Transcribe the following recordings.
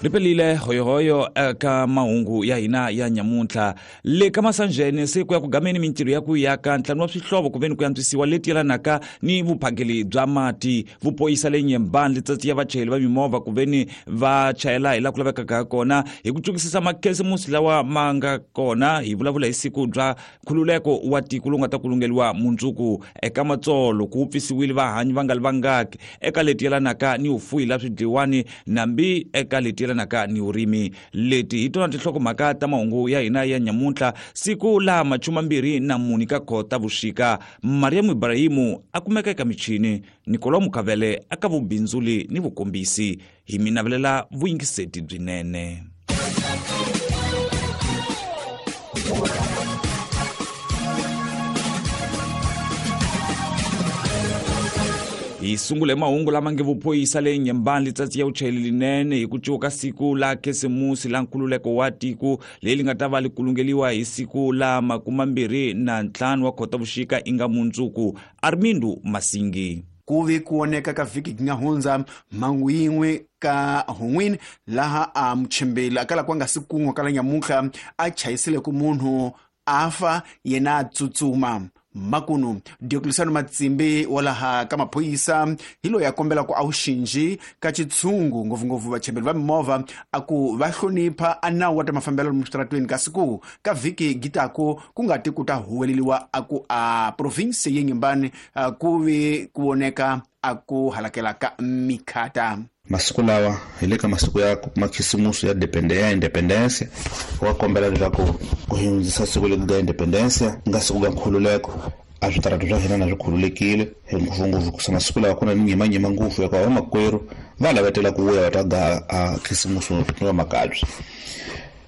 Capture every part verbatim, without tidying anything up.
Ripelile hoyohoyo eka mahungu ya hina ya nyamuntlha. Le ka Masanjene se ku ya ku gameni mintirho ya ku yaka ntlhanu wa swihlovo ku veni ku antswisiwa leti yelanaka ni vuphakeli bya mati. Vupoyisa le Nyembani letsatsi ya vachayeri va mimovha ku veni va chayela hi laha ku lavekaka kona hi ku tsukisisa makhisimusi lawa ma nga kona. Hi vulavula hi siku bya nkhululeko wa tiko lowu nga ta kulungeliwa mundzuku. Eka Matsolo ku pfisiwile vahanyi va nga li vangaki eka leti yelanaka ni vufuyi la swidliwani nambi eka leti yelanaka ni vurimi. Leti hi tona tinhlokomhaka ta mahungu ya hina ya nyamuntlha siku la machuma mbirhi na mune ka kota vuxika. Mariam Ibrahimu a kumeka eka michini, Nikolo Mukavele aka vubindzuli ni vukombisi. Hi mi navelela vuyingiseti byinene. Hi sungule mahungu lama nge vuphoyisa le Nyembani letsatsi ya vuchayeri linene hi ku cuka siku la khisimusi la nkhululeko wa tiko leri nga ta va li kulungeliwa hi siku la makumambirhi na ntlhanu wa Khotavuxika inga mundzuku. Armindo Masingi. Ku ve ku oneka ka vhiki nga hundza mhangu yin'we ka hun'wini laha a muchembeli akala ku nga si kun'we kala nyamuntlha a chayisile ku munhu a fa yena a tsutsuma. Makunu Diocleciano Matsimbi wa laha ka maphorisa hi loyi a kombela ku a wu xinji ka xitshungu ngopfungopfu vachembeli va mimovha a ku va hlonipha a nawu wa ta mafambelo lomu switaratweni kasi ku ka vhiki gitaku ku nga ti ku ta huweleliwa a ku a province ye Nyembani ku vi ku voneka a ku halakela ka mikhata. Masiku lawa hi le ka masiku ya makhisimusi ya ya independence wa kombela leswaku ku hundzisa siku leri ga independence nga siku ga nkhululeko a switaratu swa hina na swi khululekile ngopfungopfu kusa masiku lawa ku na nyimanyima ngopfu ya ku vamakwerhu va lavetela ku vuya va ta ga a khisimusi va makabye.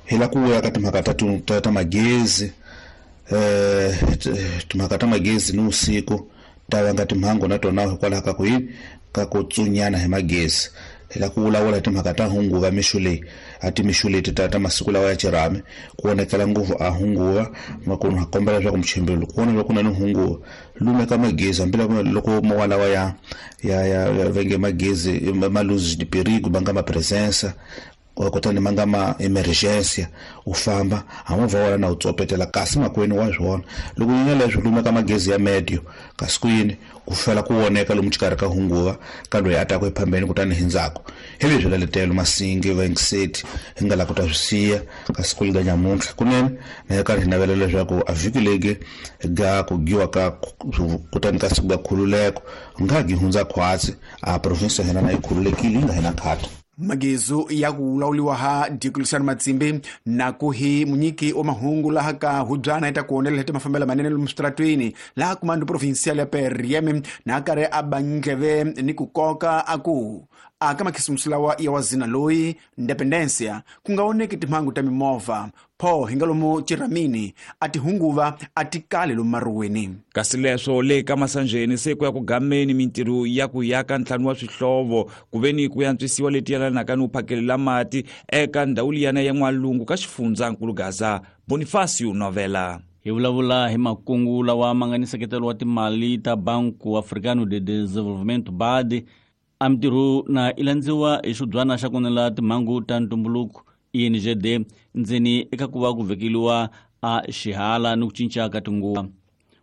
Hi la ku vuya ka timhaka ta ta ta magezi eh timhaka ta magezi ni usiku ta vanga timhangu na tona hikwalaho ka ku yini ka ku tsunyana hi magezi. Hi la ku vulavula hi timhaka ta hunguva mixo leyi a timixo leti ta ta masiku lawa ya xirhami ku vonakela ngopfu a hunguva makunu ha kombela leswaku muchembeli loko vona loko ku na ni hunguva lumeka magezi hambi loko mowa lawa ya ya ya venge magezi ma luz de perigo ma nga ma presença kutani ma nga ma emergency u famba a movha wona na u tsopetela kasi makwenu wa swona loko yi leswi lumeka magezi ya medio kasi ku yini ku fela ku voneka lomu xikarhi ka hunguva ka loyi a ta ku ephambeni kutani hi ndzhaku hi leswi laletelo Masingi vaingiseti hi nga la ku ta swi siya kasi ku liga nyamuntlha kunene na hi karhi hi navela leswaku a vhiki legi ga ku giwa ka kutani ka siku ga khululeko nga gi hundza khwatsi a province ya hina na yi khululekile yi nga hina khata. Magezo ya ku lawuliwa ha Diocleciano Matsimbi na ku hi munyiki wa mahungu laha ka hubyana ita ku onela hete mafambelo manene lomu switaratweni laha kumando provincial ya P R M na karhi a ba ndleve ni ku koka a ku a ka makhisimusi lawa ya wazina loyi independencia ku nga oneki timhangu ta mimovha pho hi nga lomu chiramini a ti hunguva a ti kali lomu maruweni. Kasi leswo le ka Masanjeni se ku ya ku gameni mintirho ya ku yaka ntlhanu wa swihlovo ku veni ku antswisiwa leti yelanaka ni vuphakelela mati eka ndhawu liyana ya N'walungu ka xifundzankulu Gaza. Bonifacio Novela. Hi vulavula hi makungu lawa ma nga ni nseketelo wa timali ta Banco Africano de Desenvolvimento B A D a mintirho na i landziwa hi xibyana xa kunela timhangu ta ntumbuluko I N G D ndzeni eka ku va ku vekeliwa a xihala ni ku cinca ka tinguva.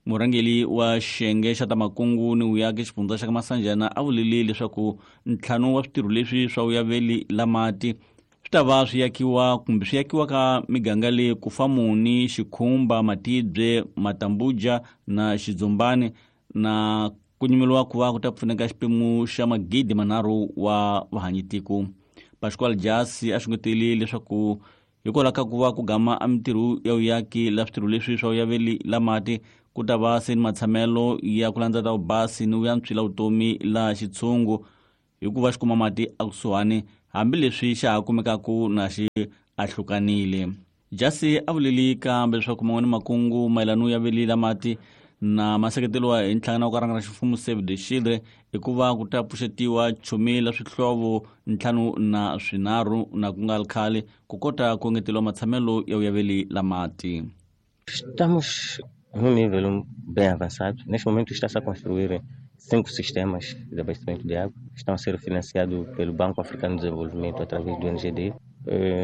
Murhangeri wa xiyenge xa ta makungu ni vuyaki xifundza xa ka Masanjana a vulile leswaku ntlhanu wa switirho leswi swa vuyaveli la mati swi ta va swi yakiwa kumbe swi yakiwa ka miganga leyi Kufamuni, Xikhumba, Matibye, Matambuja na Xidzumbani na ku nyimeliwa ku va ku ta pfuneka xiphemu xa magidi manharhu wa vahanyitiko. Pascual Jasi a xungetele leswaku hikwalaho ka ku va ku gama a mintirho ya vuyaki la switirho leswi swa vuyaveli la mati ku ta va se ni matshamelo ya ku landza ta vubasi ni vuyantswi la vutomi la xitshungu hikuva xi kuma mati ekusuhani hambileswi xa ha kumekaku na xi ahlukanile. Jasi a vuleli kambe leswaku man'wani makungu mayelana ya veli la mati na maseketeliwa hi nhlangano wa ku rhangela ximfumo Save the Children hikuva ku ta pfuxetiwa chumi la swihlovo ntlhanu na swinharhu na ku nga ri khale ku kota ku engeteriwa matshamelo ya vuyaveli la mati. Estamos num nível bem avançado. Neste momento está-se a construir Cinco sistemas de abastecimento de água estão a ser financiados pelo Banco Africano de Desenvolvimento através do N G D,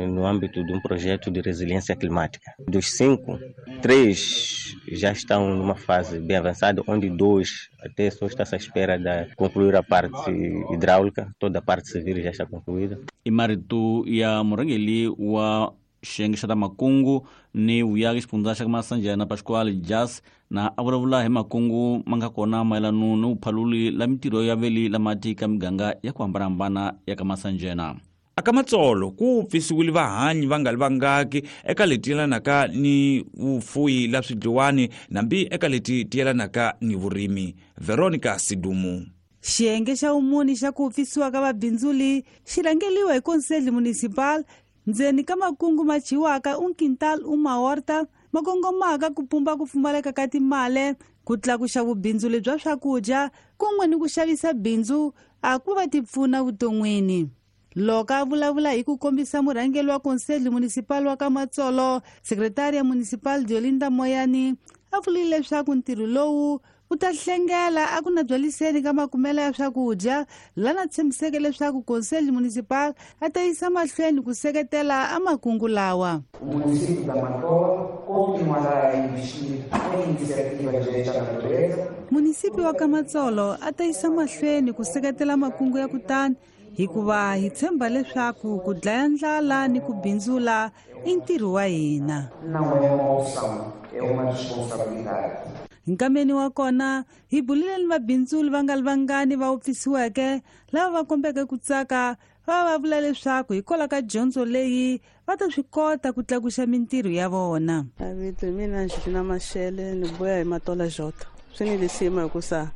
no âmbito de um projeto de resiliência climática. Dos cinco, três já estão numa fase bem avançada, onde dois até só está-se à espera de concluir a parte hidráulica, toda a parte civil já está concluída. E maritu ya murangeli wa xiyenge xa ta makungu ni vuyaki xifundza xa Masanjana Pascoal Jas na a vulavula hi makungu ma nga kona mayelana ni vuphaluli la mintirho ya veli la mati ka miganga ya ku hambanahambana ya ka Masanjana. Aka Matsolo ku pfisiwile vahanyi va nga li vangaki eka leti yelanaka ni vufuyi la swidliwani nambi eka leti ti yelanaka ni vurimi. Veronica Sidumu. Xiyenge xa vumuni xa ku pfisiwa ka vabindzuli xi rhangeliwa hi Conselho Municipal ndzeni ka makungu ma chiwaka un quintal uma horta ma kongomaka ku pumba ku pfumaleka ka timali ku tlakuxa vubindzuli bya swakudya kun'we ni ku xavisa bindzu a ku va ti pfuna vuton'wini. Loko a vulavula hi ku kombisa murhangeri wa Conselho Municipal wa ka Matsolo, Secretaria Municipal Diolinda Moyani a vurile leswaku ntirho lowu wu ta hlengela a ku na byaliseni ka makumelo ya swakudya lana tshembiseke leswaku Conselho Municipal a ta yisa mahlweni ku seketela a makungu lawa. O município da Matola continuará a investir em iniciativas desta natureza. Município wa ka Matsolo a ta yisa mahlweni ku seketela makungu ya kutani hikuva hi tshemba leswaku ku dlaya ndlala ni ku bindzula i ntirho wa hina. Não é uma opção, é uma responsabilidade. Nkameni wa kona hi bulile ni vabindzuli va nga li vangani va wupfisiweke lava va kombeke ku tsaka va va vula leswaku hikwalaho ka dyondzo leyi va ta swi kota ku tlakuxa mintirho ya vona. Vito hi mina Angelina Mashele ni vuya hi Matola Jota. Swi ni lisima hikusa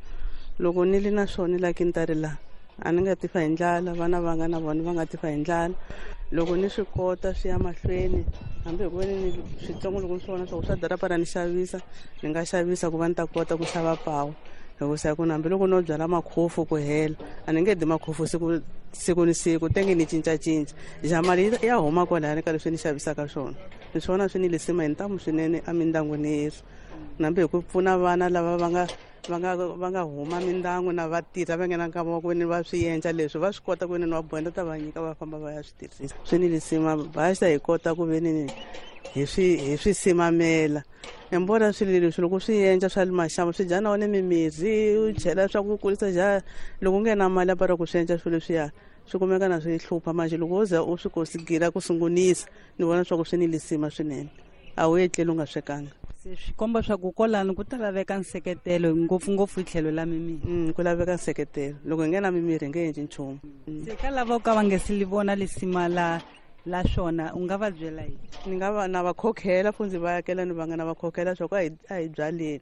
loko ni li na swona la kintari la a ni nga tifa hi ndlala, vana va nga na vona va nga tifa hi ndlala. Loko ni swi kota swi ya mahlweni hambi hi ku ve ni switsongo loko ni swi vona swa ku swa darapa ra ni xavisa ni nga xavisa ku va ni ta kota ku xava pawu hikusa hi ku hambiloko no byala makhofu ku hela a ni nge di makhofu siku siku ni siku tenge ni cincacinca ja mali ya huma kwalaya ka leswi ni xavisaka swona. Ni swona swi ni lisima hi ntamu swinene emindyangwini yesu nambi hi ku pfuna vana lava va nga va nga va nga huma mindyangu na va tirha va nghena nkama wa ku veni va swi endla leswi va swi kota ku veni va bohenda ta va nyika va famba va ya swi tirhisa. Swi ni lisima basa hi kota ku veni hi swi hi swi simamela embora swilo leswi loko swi endla swa le maxangu swi dya na wona mimirhi u chela swa ku kurisa ja loko u nge na mali ya para ku swi endla swilo leswiya swi kumeka na swi hlupha manje loko wo za u swi kosigila ku sungunisa ni vona swa ku swi ni lisima swinene a wu etleli u nga swekanga. Swi komba swa ku kwalano ku ta laveka nseketelo ngopfungopfu hi tlhelo la mimirhi. Mm, ku laveka nseketelo loko hi nge na mimirhi hi nge endli nchumu. Se ka lava ka va nge se li vona lisima la la swona u nga va byela yini? Ni nga va na va khokhela fundzi va yakela ni va nga na va khokhela swa ku a hi a hi byaleni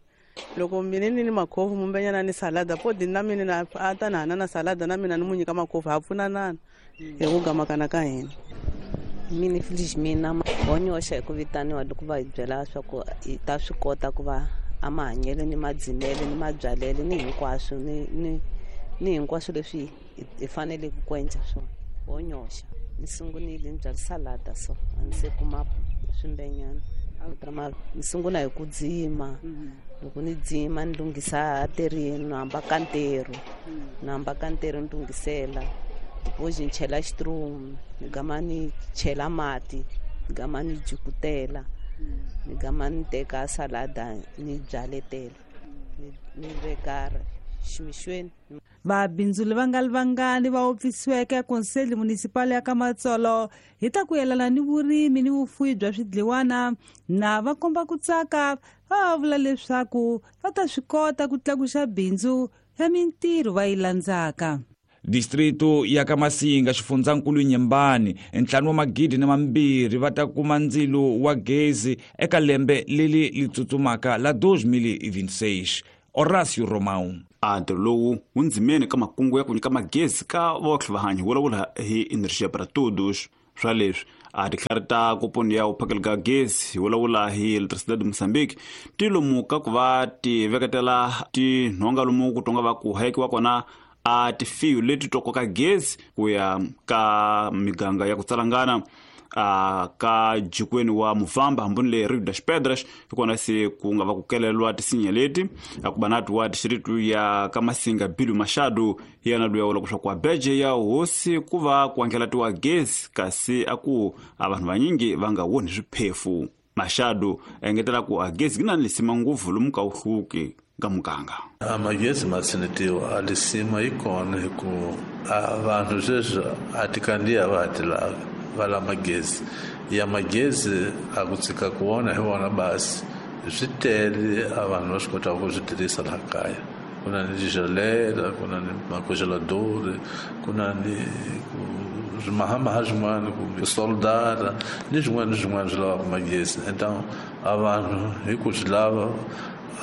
loko mina ni ni makhofu mumbenyana ni salada podi na mina na a ta na hana na salada na mina ni mu nyika makhofu ha pfunanana hi ku gamakana ka hina. Mina Felizmina honyoxa hi ku vitaniwa loko va hi byela swa ku hi ta swi kota ku va a mahanyelo ni madzimele ni mabyalelo ni hinkwaswo ni ni ni hinkwaswo leswi hi faneleke ku endla swona. Honyoxa ni sungunile ni byala salada so a ni se kuma swimbenyana ni sungula hi ku dzima loko ni dzima ni lunghisa terini ni hamba ka ntirho ni hamba ka ntirho ni lunghisela hoje ni chela xitrumu ni gama ni chela mati ni gama ni jukutela ni gama ni teka salada ni byaletela ni veka ximixweni. Vabindzuli va nga li vangani va wupfisiweke Conselho Municipal ya ka Matsolo hi ta ku yelana ni vurimi ni vufuwi bya swidliwana na va komba ku tsaka va vula leswaku va ta swi kota ku tlakuxa bindzu ya mintirho va yi landzaka. Distrito ya ka Masinga xifundzankulu Nyembani ntlhanu wa magidi na mambirhi va ta kuma ndzilo wa gezi eka lembe leri li tsutsumaka la dois mil e vinte e seis. Horácio Romão. A ntirho lowu wu ndzimeni ka makungu ya ku nyika magezi ka votlhe vahanyi vulavula hi Energia para Todos. Swa leswi a titlhari ta koponi ya vuphakeli ka gezi hi vulavula hi Eletricidade de Moçambique ti lomu ka ku va ti veketela tinhonga lomu ku tonga va ku hayekiwa kona a tifiyo leti to koka gezi ku ya ka miganga ya ku tsalangana. a ka jikweni wa Muvamba hambuni le Rio das Pedras hikona se ku nga va ku kelelwa tisinya leti akubanatu wa distritu ya Kamasinga Bilu Machado yena luya wala kusha kwa beje ya hosi kuva kuangelatiwa gezi kasi aku abantu vanyingi vanga woni swiphefu. Machado engetela ku agezi gina lisima nguvu lumuka uhluke gamuganga amagezi matsinitiwa alisima ikona hiku abantu sweswi a ti kandziya va ha ti lava va la magezi ya magezi a ku tshika ku vona hi vona basi swi tele a vanhu va swi kotaka ku swi tirhisa laha kaya. Ku na ni tigelela, ku na ni macongelador, ku na ni swimahamaha swin'wana kumbe soldara ni swin'wana ni swin'wana swi lavaka magezi. Então a vanhu hi ku swi lava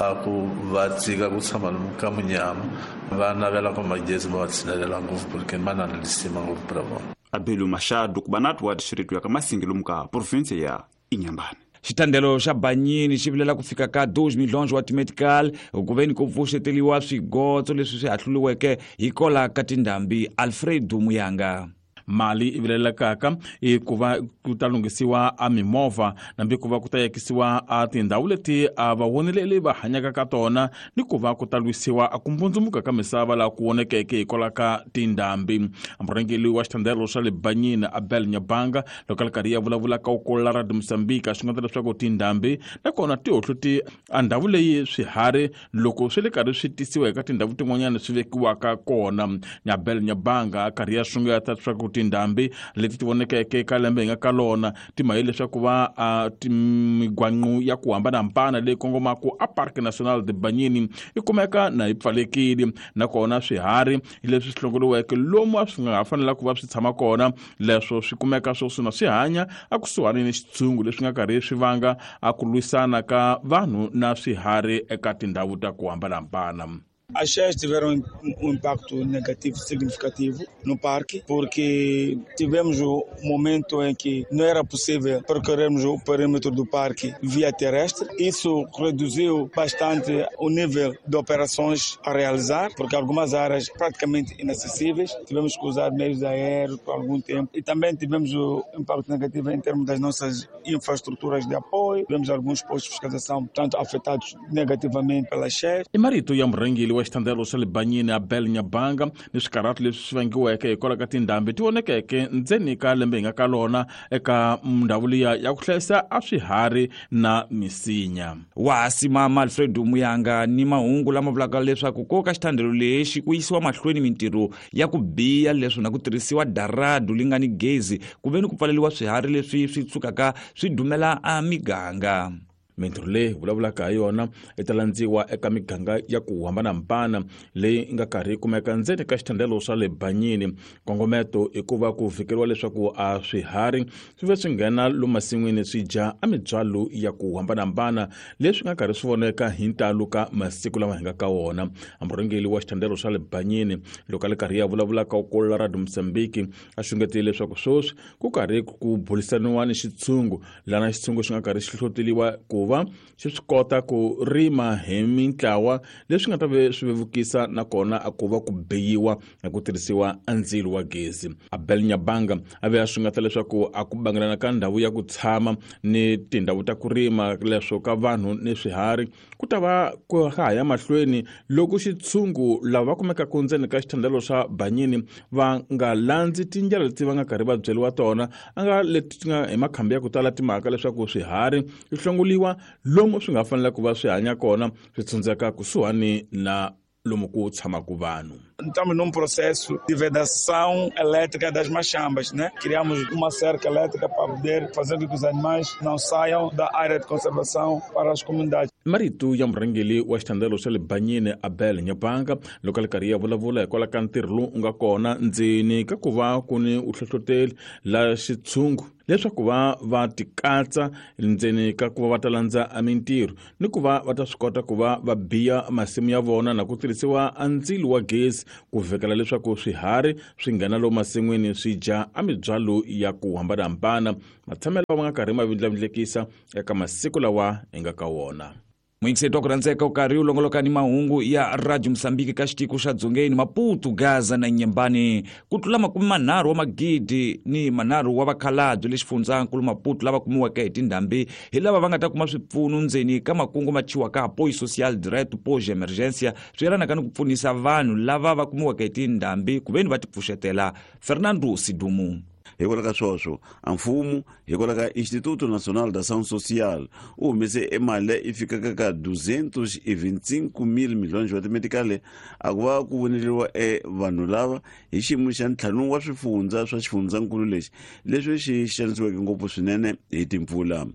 a ku va tshika ku tshama lomu ka munyama va navela ku magezi ma va tshinelela ngopfu porque ma na lisima ngopfu pra vona. Abelu Machado kubanatu wa distritu ya Kamasinga lomu province ya Inhambane. Xitandelo xa Banyini xi vilela ku fika ka dois milhões wa timedical ku veni ku pfuxeteliwa swigotso leswi swi hahluriweke hi kola ka tindhambi. Alfredo Muyanga. Mali i vilelekaka i ku va ku ta lunghisiwa a mimovha nambi ku va ku ta yakisiwa a tindhawu leti a vavoneleli va hanyaka ka tona ni ku va ku ta lwisiwa a ku mbundzumuka ka misava laha ku vonekeke hikwalaho ka tindhambi. Murhangeri wa xitandelo xa le Banyini Abel Nyabanga loko a ri karhi ya vulavula ka ukolola ra Mozambique swi nga leswaku tindhambi nakona ti hohloti a ndhawu leyi swiharhi loko swi le karhi swi tisiwa eka tindhawu tin'wanyana swi vekiwaka kona. Abel Nyabanga a karhi ya sungeta leswaku tindhambi leti ti vonekeke ka lembe hi nga ka lona ti maye leswaku va a migwanqu ya ku hambanahambana leyi kongomaka a Parque Nacional de Banyini yi kumeka na yi pfalekile nakona swiharhi leswi swi hlongoriweke lomu a swi nga ha fanela ku va swi tshama kona leswo swi kumeka swo swi na swi hanya a kusuhani ni xitshungu leswi nga karhi swi vanga a ku lwisana ka vanhu na swiharhi eka tindhawu ta ku hambanahambana. As cheias tiveram um impacto negativo significativo no parque, porque tivemos o momento em que não era possível percorrermos o perímetro do parque via terrestre. Isso reduziu bastante o nível de operações a realizar, porque algumas áreas praticamente inacessíveis, tivemos que usar meios aéreos por algum tempo. E também tivemos o impacto negativo em termos das nossas infraestruturas de apoio. Tivemos alguns postos de fiscalização, tanto afetados negativamente pelas cheias. E marito ya murhangeri wa xitandelo xa le Banyini Abel Nyabanga ni swikarhati leswi swi vangiweke hikwalaho ka tindhambi ti vonekeke ndzeni ka lembe hi nga ka lona eka ndhawu liya ya ku hlayisa a swiharhi na misinya. Wa simama Alfredo Muyanga ni mahungu lama vulaka leswaku ko ka xitandelo lexi ku yisiwa mahlweni mintirho ya ku biya leswi na ku tirhisiwa daradu li nga ni gezi ku veni ku pfaleliwa swiharhi leswi swi tsukaka swi dumela a miganga. Mintirho leyi vulavulaka hi yona yi ta landziwa eka miganga ya ku hambanahambana leyi nga karhi yi kumeka ndzeni ka xitandelo swa le Banyini. Nkongometo i ku va ku vhikeriwa leswaku a swiharhi swi ve swi nghena lomu masin'wini swi dya a mibyalo ya ku hambanahambana leswi nga karhi swi voneka hi ntalo ka masiku lama hi nga ka wona. Murhangeri wa xitandelo swa le Banyini loko a ri karhi ya vulavula ka ukolola ra Mozambique a xungetile leswaku sweswi ku karhi ku burisaniwa ni xitshungu lana xitshungu xi nga karhi xi hlohloteliwa ku va xi swi kota ku rima hi mintlawa leswi nga ta ve swi vevukisa nakona a ku va ku beyiwa na ku tirhisiwa a ndzilo wa gezi. Abel Nyabanga a ve a sungata leswaku a ku bangelana ka ndhawu ya ku tshama ni tindhawu ta ku rima leswo ka vanhu ni swiharhi ku ta va ku ha ya mahlweni loko xitshungu lava va kumekaka ndzeni ka xitandelo xa Banyini va nga landzi tindlela leti va nga karhi va byeriwa tona a nga leti ti nga hi makhambi ya ku tala timhaka leswaku swiharhi swi hlongoliwa lomu swi nga fanela ku va swi hanya kona swi tshundzeka kusuhani na lomu ku tshamaka vanhu. Estamos num processo de vedação elétrica das machambas, né? Criamos uma cerca elétrica para poder fazer com que os animais não saiam da área de conservação para as comunidades. Marito ya murhangeri wa xitandelo xa le Banyini Abel Nyabanga loko a ri karhi ya vulavula hikwalaho ka ntirho lowu nga kona ndzeni ka ku va ku ni u hlohloteli la xitshungu leswaku va va tikatsa ndzeni ka ku va va ta landza a mintirho ni ku va va ta swi kota ku va va biya masimu ya vona na ku tirhisiwa a ndzilo wa gezi ku vhekela leswaku swiharhi swi nghena lomu masin'wini swi dya a mibyalo ya ku hambanahambana matshamelo ma nga karhi ma vindlavindlekisa eka masiku lawa hi nga ka wona. Muyingiseti wa ku rhandzeka u karhi u longoloka ni mahungu ya Radio Mozambique ka xitiko xa Dzongeni, Maputo, Gaza na Nyembani. Ku tlula makume manharhu wa magidi ni manharhu wa vakhalabye le xifundzankulu Maputo lava kumiweke hi tindhambi hi lava va nga ta kuma swipfuno ndzeni ka makungu ma thyiwaka Apoio Social Direto Pós Emergência, swi yelanaka ni ku pfunisa vanhu lava va kumiweke hi tindhambi ku veni va tipfuxetela. Fernando Sidumu. Hikwalaho ka sweswo a mfumo hikwalaho ka Instituto Nacional da Ação Social u humese emali leyi i fikaka ka duzentos e vinte e cinco mil milhões wa timetikale a ku va ku voneriwa e vanhu lava hi xiyimo xa ntlhanu wa swifundza swa xifundzankulu lexi leswi xi xanisiweke ngopfu swinene hi timpfula.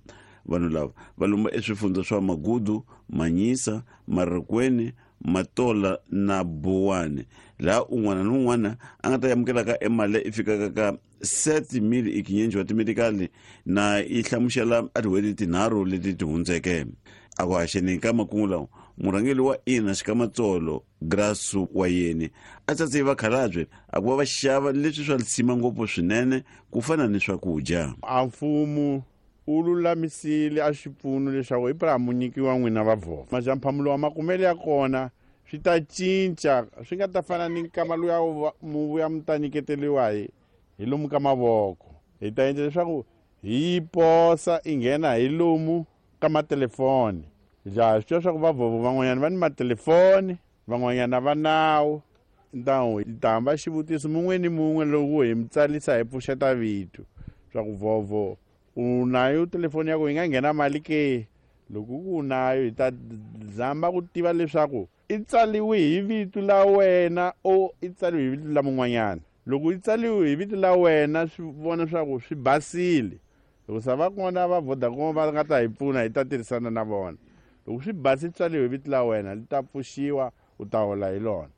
Vanhu lava va lomba eswifundza swa Magudu, Manyisa, Marikweni, Matola na Buwani, laha un'wana ni un'wana a nga ta amukelaka emali leyi i fikaka ka sete mil e quinhentos wa timedikali na yi hlamusela a tin'hweti tinharhu leti ti hundzeke. A ku haxeni ka makungu lawa, murhangeri wa ina Xikamatsolo Grasu wa yeni a tsatse vakhalabye a ku va va xava leswi swa lisima ngopfu swinene ku fana ni swakudya. A mfumo u lulamisile a xipfuno leswaku hi mu nyikiwa n'wina va vhova majamphamulo wa makumele ya kona swi ta cinca, swi nga ta fana ni nkama luya mu vuya mu ta nyiketeriwa hi hi lomu ka mavoko. Hi ta endla leswaku hi posa i nghena hi lomu ka matelefoni. Ja swi tiva swa ku vavhovo van'wanyana va ni matelefoni, van'wanyana va nawu. Ntawu hi ta hamba xivutiso mun'we ni mun'we loko hi mi tsalisa hi pfuxeta vito swa ku vhovo u nayo telefoni ya ku yi nga nghena mali ke. Loko ku u nayo hi ta zama ku tiva leswaku i tsaliwe hi vito la wena o i tsaliwe hi vito la mun'wanyana. Loko i tsaliwe hi vito la wena swi vona swa ku swi basile. Loko sa va kona va Vodacom va nga ta hi pfuna hi ta tirhisana na vona. Loko swi basile tsaliwe hi vito la wena li ta pfuxiwa u ta hola hi lona.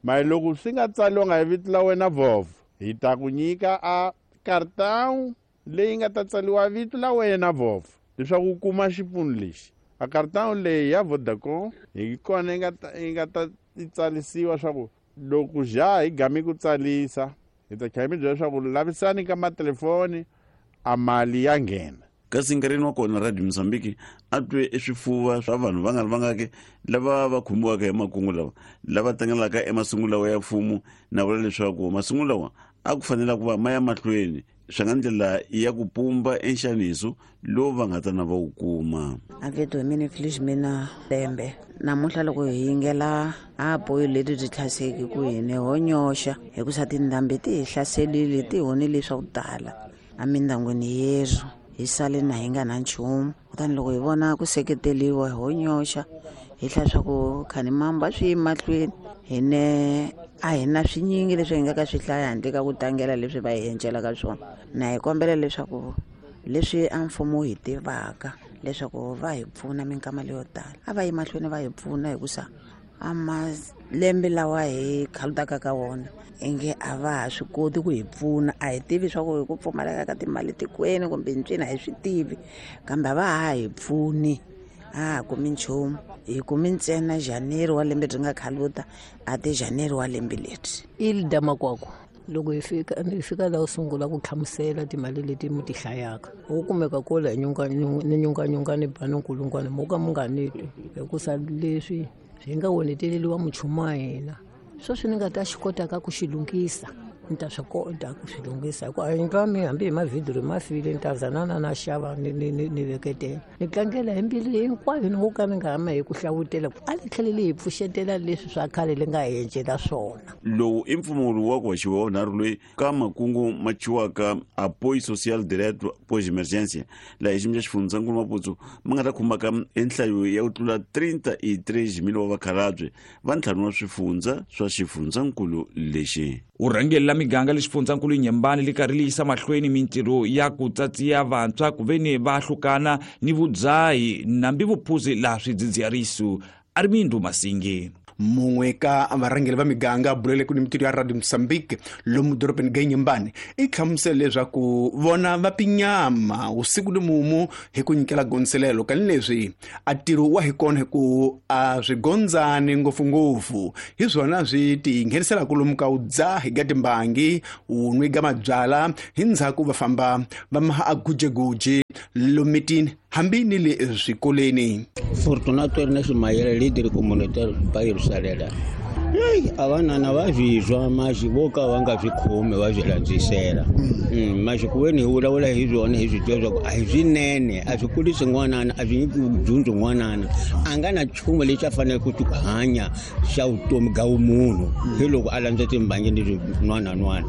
Mara loko swi nga tsaliwanga hi vito la wena vhovo hi ta ku nyika a cartão leyi nga ta tsaliwa vito la wena vhovo leswaku u kuma xipfuno lexi. A cartão leyi ya Vodacom hi kona yi nga ta yi nga ta tsalisiwa swa ku loko ja hi gami ku tsalisa hi ta tlhela mi byela leswaku lavisani ka matelefoni a mali ya nghena. Kasi nkarhini wa kona Radio Mozambique a twe eswifuva swa vanhu va nga ri vangaki lava va khumbiwaka hi makungu lawa lava tlangelaka emasungulo lawa ya mfumo na vula leswaku masungulo lawa a ku fanele ku va ma ya mahlweni swi nga ndlela ya ku pumba enxaniso lowu va nga ta na va wu kuma. A vito hi mina Felizmina Lembe. Namuntlha loko hi yingela a apoyo leti byi hlaseki ku hina ho nyoxa hikusa tindhambi ti hi hlaselile ti honile swa ku tala emindyangwini yerhu hi sale na hi nga na nchumu. Kutani loko hi vona ku seketeriwa ho nyoxa hi hlaya swa ku khanimamba swi yi mahlweni hine a hi na swinyingi leswi hi nga ka swi hlaya handle ka ku tlangela leswi va hi encelaka swona. Na hi kombela leswaku leswi a mfumo wu hi tivaka leswaku va hi pfuna minkama leyo tala a va yi mahlweni va hi pfuna hikusa a malembe lawa hi khalutaka ka wona inge a va ha swi koti ku hi pfuna. A hi tivi swa ku hi ku pfumaleka ka timali tikweni kumbe ntswini a hi swi tivi, kambe a va ha hi pfuni a ha kumi nchumu. Hi kumi ntsena January wa lembe byi nga khaluta a ti January wa lembe leri. Ilda Makwakwa loko hi fika hi fika laha u sungula ku hlamusela timali leti mi ti hlayaka u kumeka kula hi ni nyunganyunga ni ba ni nkulungwana mo ka mi nga ni twi hikusa leswi swi nga oneteleriwa muchumu wa hina sweswi ni nga ta xi kotaka ku xi lunghisa ni ta swi kota ku swi lunghisa hikuva a yindlu ya mina hambi hi mavhidiro ma file ni ta zanana na xava ni ni ni ni veketela ni tlangela hi mbilu hinkwayo ni ngo ka ni nga hama hi ku hlawutela a li tlhele li hi pfuxetela leswi swa khale li nga hi encela swona. Lowu i mpfumawulo wa ku haxiwa wa vunharhu loyi ka makungu ma thyiwaka Apoio Social Direto Pós Emergência laha hi xiyimo xa xifundzankulu Maputo ma nga ta khumbaka enhlayo ya ku tlula trinta e três mil wa vakhalabye va ntlhanu wa swifundza swa xifundzankulu lexi. Vurhangeri la miganga le xifundzankulu Nyembani li karhi li yisa mahlweni mintirho ya ku tsatsiya vantshwa ku veni va hlukana ni vudzahi nambi vuphuzi laha swidzidziharisi. Armindo Masingi. Mun'we ka varhangeri va miganga bulele ku ni mintirho ya Radio Mozambique lomu dorobeni ga Nyembani i hlamusele leswaku vona va pinyama usiku ni mumu hi ku nyikela gondzelelo kani leswi a ntirho wa hi kona hi ku a swi gondzani ngopfungopfu hi swona swi ti ngheniselaka lomu ka u dzahi ga timbangi u nwi ga mabyala hi ndzhaku va famba va maha a gujeguji lomitini hambi ni le swikolweni. Fortunato Ernest Mayele, líder comunitário bairro Salela. Ei, a vanana va swi twa maxi vo ka va nga swi khomi va swi landzisela. Maxi ku ve ni hi vulavula hi swona hi swi tiva swa ku a hi swinene, a swi kurisi n'wanana, a swi nyiki dyondzo n'wanana. A nga na nchumu lexi a faneleke ku hanya xa vutomi bya vumunhu hi loko a landza timbangi leswi nwananwana.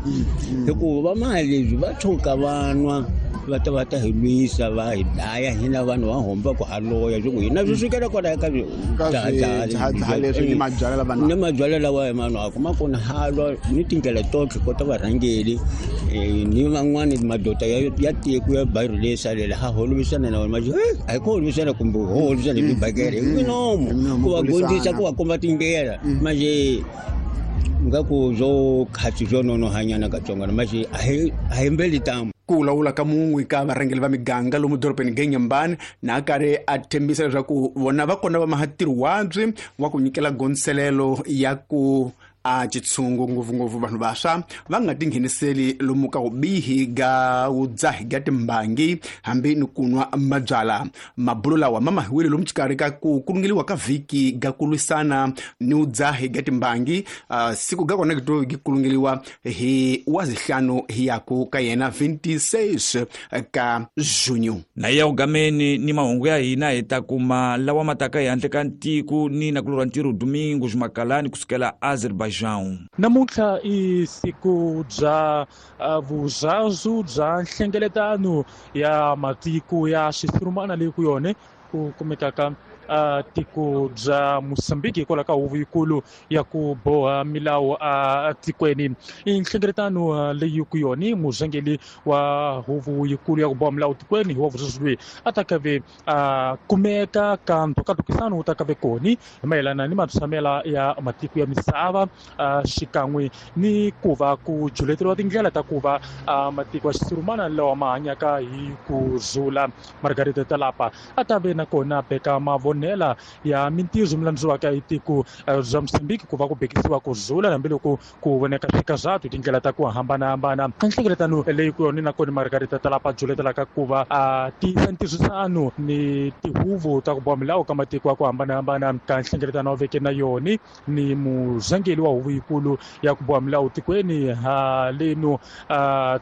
Hikuva va mali leswi va tshuka va nwa va ta va ta hi lwisa va hi dlaya hina vanhu va homba ku haloya swi ku hina swi sukela kwalaya ka swihaha leswi ni mabyalwa lava ni mabyalwa lawa hi manwaka ma kona halwa ni tindlela totlhe kota varhangeli ni van'wani madoda ya ya tiko ya bairro leyi salela ha holovisana na wona maxi a hi ku holovisana kumbe ho holovisana hi tibakele hi minomo ku va gondzisa ku va komba tindlela manje nga ku byo khatsi byo nonohanyana katsongwana maxi a hi a hi mbeli tamu. Ku vulavula ka mun'we ka varhangeri va miganga lomu dorobeni Genyambani na karhi a tshembisa leswaku vona va kona va maha ntirho wabyi wa ku nyikela gondzelelo ya ku a xitshungu ngopfungopfu vanhu vantshwa va nga tingheniseli lomu ka vubihi ga vudzahi ga timbangi hambi ni ku nwa mabyalwa. Mabulo lawa ma mahiwile lomu xikarhi ka ku kulungeliwa ka vhiki ga ku lwisana ni vudzahi ga timbangi. Uh, siku ga kona ki ki kulungeliwa hi wazihlanu hi yaku ka yena vingt-six ka junho. Na ya ugameni ni mahungu ya hina hi ta kuma lawa mataka ya handle ka ntiko ni nakulorwa ntirho Domingos Makalani kusukela Azerbaijan. Namuntlha i siku bya vuzazu bya nhlengeletano ya matiko ya xisurumana leyi ku yona ku kumekaka uh, tiko bya Mozambique hikwalaho ka huvo yikulu ya ku boha milawu a tikweni. I nhlengeletano leyi ku yona murhangeri wa huvo yikulu ya ku boha milawu tikweni wa vuzazu loyi a ta kave a kumeka ka ntokatokisano wu ta kave koni hi mayelana ni matshamela ya matiko ya misava xikan'we ni ku va ku juleteriwa tindlela ta ku va matiko ya xisurumana lawa ma hanyaka hi ku zula. Margarita Talapa a ta ve nakona beka mavonela ya mintirho milandziwaka hi tiko bya Mozambique ku va ku bekisiwa ku zula hambiloko ku voneka swikazatu tindlela ta ku hambanahambana. Nhlengeletano leyi ku yona nakona Margarita Talapa juletelaka ku va a tiyisa ntirhisano ni tihuvo ta ku boha milawu ka matiko ya ku hambanahambana ka nhlengeletano wa veke na yona ni murhangeri wa huvo yikulu ya ku boha milawu tikweni haleno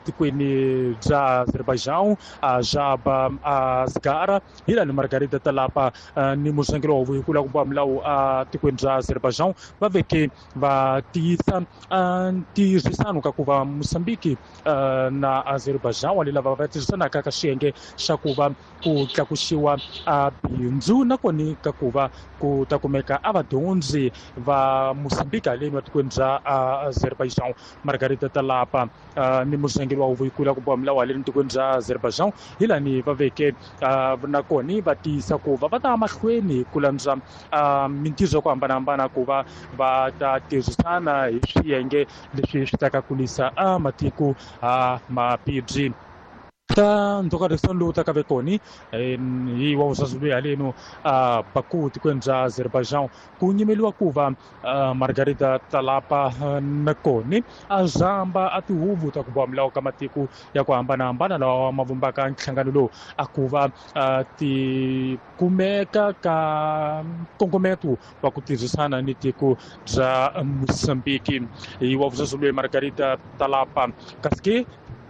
tikweni bya Azerbaijan Jaba Asgara hi lani Margarita Talapa ni murhangeri wa huvo yikulu ya ku boha milawu tikweni bya Azerbaijan va veke va tiyisa ntirhisano ka ku va Mozambique na Azerbaijan wa lava va tirhisanaka ka xiyenge xa ku va ku tlakusiwa bindzu nakona ka ku va ku ta kumeka a vadyondzi va Mozambique haleni wa tikweni bya Azerbaijan. Margarita Talapa ni murhangeri wa huvo yikulu ya ku boha milawu haleni tikweni bya Azerbaijan hi lani va veke nakona va tiyisa ku va va ta mahlweni ku landza mintirho ya ku hambanahambana ku va va ta tirhisana hi swiyenge leswi swi ta ka kulisa a matiko a mapibyi. Ta ntokarisano lowu taka ve koni hi wa vuzazu loyi haleno a Baku tikweni bya Azerbaijan ku nyimeliwa ku va Margarita Talapa nakoni a zamba a tihuvo ta ku boha milawu ka matiko ya ku hambanahambana lawa ma vumbaka nhlangano lowu a ku va ti kumeka ka nkongometo wa ku tirhisana ni tiko bya Mozambique. Hi wa vuzazu loyi Margarita Talapa kasi ke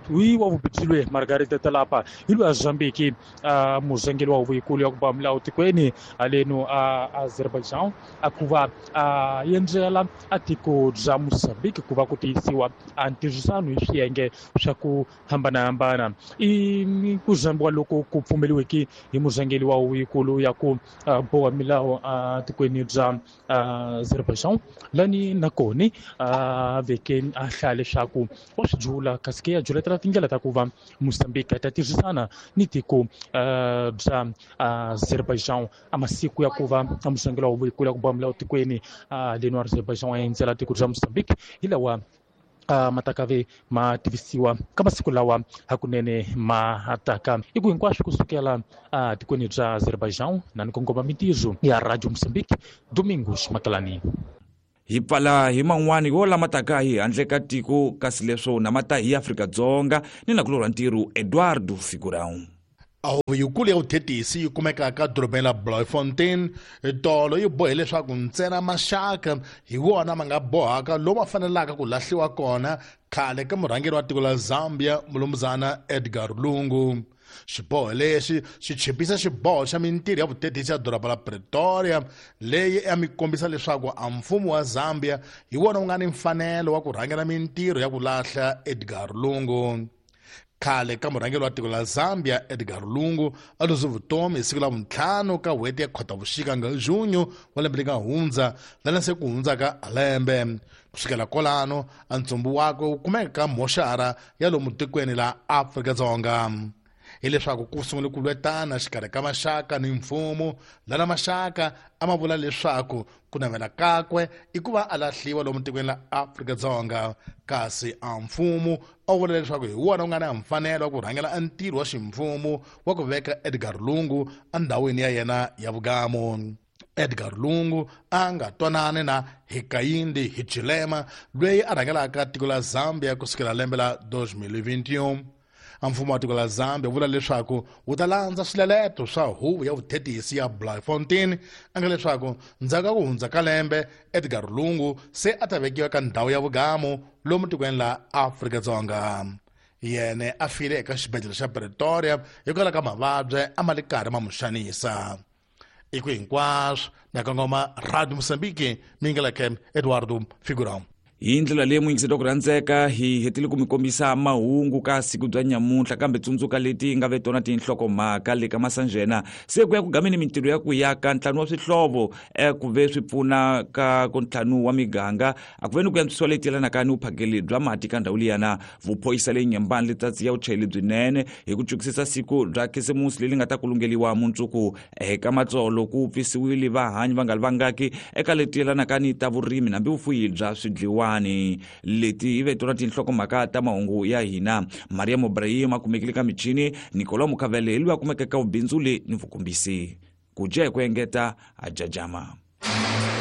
wi wa vubitsilwe Margarita Talapa hi loyi a Mozambique a murhangeri wa huvo yikulu ya ku boha milawu tikweni haleno a Azerbaijan a ku va a endzela a tiko bya Mozambique ku va ku tiyisiwa a ntirhisano hi swiyenge swa ku hambanahambana. I ku zambiwa loko ku pfumeliweke hi murhangeri wa huvo yikulu ya ku boha milawu a tikweni bya Azerbaijan lani nakona a veke a hlaya leswaku wa swi jula kasi ke ya juletela tindlela ta ku va Mozambique ta tirhisana ni tiko bya Azerbaijan a masiku ya ku va murhangeri wa huvo yikulu ya ku boha milawu tikweni leno Azerbaijan a endzela tiko bya Mozambique hi lawa matakave ma tivisiwa ka masiku lawa hakunene ma taka i ku hinkwaswo kusukela tikweni bya Azerbaijan na ni kongoma mintirho ya Radio Mozambique Domingos Makalani. Hi pfala hi man'wani yo lama taka hi handle ka tiko kasi leswo na mata hi Afrika-Dzonga ni nakulorwa ntirho Eduardo Figurão. Huvo yikulu ya vuthetisi yi kumekaka dorobeni la Bloemfontein tolo yi bohe leswaku ntsena maxaka hi wona ma nga bohaka lomu fanelaka ku lahliwa kona khale ka murhangeri wa tiko la Zambia mulumuzana Edgar Lungu. Xiboho lexi xi chipisa xiboho xa mintirho ya vuthetisi ya doroba la Pretoria leyi ya mi kombisa leswaku a mfumo wa Zambia hi wona wu nga ni mfanelo wa ku rhangela mintirho ya ku lahla Edgar Lungu. Khale ka murhangeri wa tiko la Zambia Edgar Lungu a luze vutomi hi siku la vuntlhanu ka n'hweti ya Khotavuxika nga junho wa lembe leri nga hundza lana se ku hundzaka lembe. Kusukela kwalano a ntsumbu wakwe wu kumeka ka moxara ya lomu tikweni la Afrika-Dzonga. Hileswaku ku sungule ku lwetana xikarhi ka maxaka ni mfumo lana maxaka a ma vula leswaku ku navela kakwe i ku va a lahliwa lomu tikweni la Afrika-Dzonga, kasi a mfumo a wu vula leswaku hi wona wu nga na mfanelo wa ku rhangela a ntirho wa ximfumo wa ku veka Edgar Lungu endhawini ya yena ya vugamo. Edgar Lungu a nga twanani na Hakainde Hichilema loyi a rhangelaka tiko la Zambia kusukela lembe la dos mil e vinte e um. Mfumo wa tiko la Zambia vula leswaku wu ta landza swileleto swa huvo ya vuthetisi ya Bloemfontein a nga leswaku ndzhaku ka ku hundza ka lembe Edgar Lungu se a ta vekiwa ka ndhawu ya vugamo lomu tikweni la Afrika-Dzonga. Yene a file eka xibedhlele xa Pretoria hikwalaho ka mavabyi a ma li karhi ma mu xanisa. I ku hinkwaswo na kongoma Radio Mozambique mingeleke Eduardo Figurão. Hi ndlela leyi muyingiseti wa ku rhandzeka hi hetile ku mi kombisa mahungu ka siku bya nyamuntlha, kambe tsundzuka leti nga ve tona tinhlokomhaka le ka masanjena se ku ya ku gameni mintirho ya ku yaka ntlhanu wa swihlovo ku ve swi pfuna ka ku ntlhanu wa miganga a ku ve ni ku antswisiwa leti yelanaka ni vuphakeli bya mati ka ndhawu liyana. Vuphorisa leyi nyembani letsatsi ya vuchayeri byinene hi ku cukisisa siku bya khisimusi leri nga ta kulungeliwa mundzuku eka matsolo ku pfisiwile vahanyi va nga li vangaki eka leti yelanaka ni ta vurimi nambi vufuyi bya swidliwa. Leti hi ve tona tinhlokomhaka ta mahungu ya hina. Maria Ibrahim a kumekile ka michini, Nicolas Mukavele hi loyi a kumekaka vubindzuli ni vukombisi. Ku dya hi ku engeta a jajama.